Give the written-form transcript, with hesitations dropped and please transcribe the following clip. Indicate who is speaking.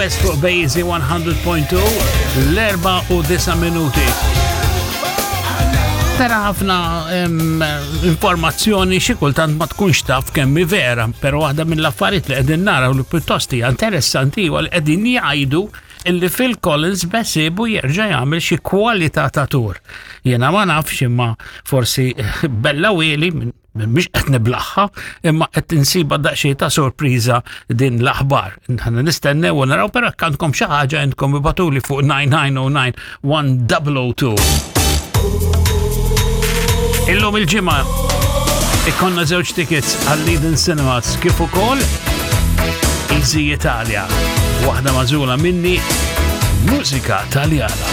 Speaker 1: West fuq Bejzi 100.2 l-4 u 9 minuti. Tara ħafna informazzjoni xi kultant ma tkunx taf kemm hi vera, però waħda mill-affarijiet li qegħdin naraw li pjuttost hija interessanti huwa li qegħdin jgħidu illi Phil Collins besibu jerġa' jagħmel xi kwalità ta' tur. Jiena ma nafx imma forsi bella wieli mhix qed niblaħħa, imma qed insiba daqsxejn ta' sorpriża din l-aħbar. Ħana nistennew u naraw però jekk għandkom xi ħaġa intkom ibatuli fuq 9909 1002. Illum il-ġimgħa ikonna żewġ tickets għal Leiden Cinemas kif ukoll Easy Italia. Waħda mażula minni mużika Taljana.